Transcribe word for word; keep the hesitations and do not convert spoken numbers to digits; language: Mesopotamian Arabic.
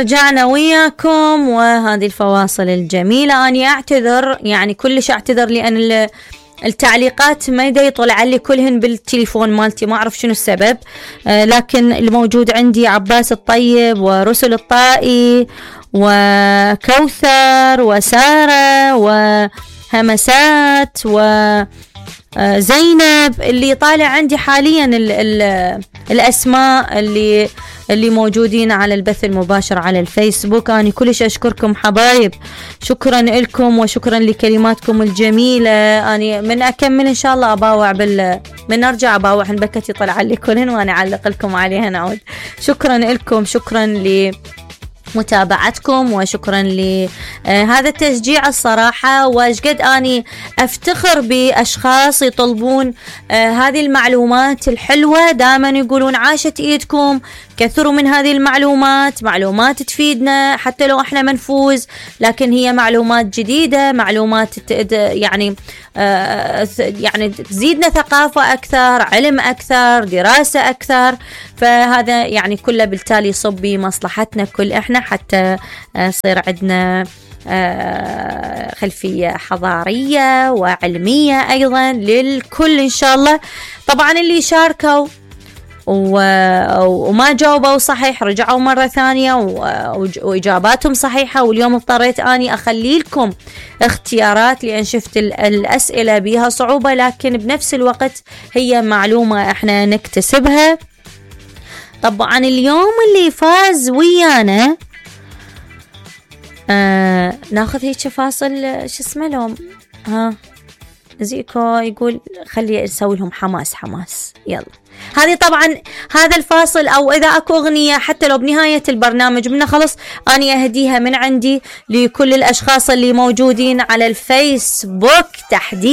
رجعنا وياكم وهذه الفواصل الجميلة. أنا أعتذر يعني كلش أعتذر لأن التعليقات ما يدا يطلع لي كلهن بالتليفون مالتي، ما أعرف شنو السبب. آه لكن الموجود عندي عباس الطيب ورسل الطائي وكوثر وسارة وهمسات وزينب اللي طالع عندي حاليا ال ال الأسماء اللي اللي موجودين على البث المباشر على الفيسبوك. أنا كلش أشكركم حبايب، شكرا لكم وشكرا لكلماتكم الجميلة. أنا من أكمل إن شاء الله أباوع بال من أرجع أباوع بكتي طلع لي كلهن وأنا أعلق لكم عليها نعود. شكرا لكم، شكرا ل متابعتكم وشكرا لهذا التشجيع الصراحة. واشقد أني أفتخر بأشخاص يطلبون هذه المعلومات الحلوة، دائما يقولون عاشت إيدكم، كثروا من هذه المعلومات، معلومات تفيدنا حتى لو احنا منفوز، لكن هي معلومات جديدة، معلومات يعني يعني تزيدنا ثقافة أكثر، علم أكثر، دراسة أكثر. فهذا يعني كله بالتالي يصب بمصلحتنا كل إحنا حتى يصير عندنا خلفية حضارية وعلمية أيضا للكل إن شاء الله. طبعا اللي شاركوا وما جاوبوا صحيح رجعوا مرة ثانية وإجاباتهم صحيحة، واليوم اضطريت أني أخلي لكم اختيارات لأن شفت الأسئلة بها صعوبة، لكن بنفس الوقت هي معلومة احنا نكتسبها. طبعا اليوم اللي فاز ويانا آه ناخذ هيك فاصل شو اسمه لهم ها زيكو يقول خلي نسوي لهم حماس حماس. يلا هذه طبعا هذا الفاصل او اذا اكو اغنية حتى لو بنهاية البرنامج منها خلص اني اهديها من عندي لكل الاشخاص اللي موجودين على الفيسبوك تحديدا.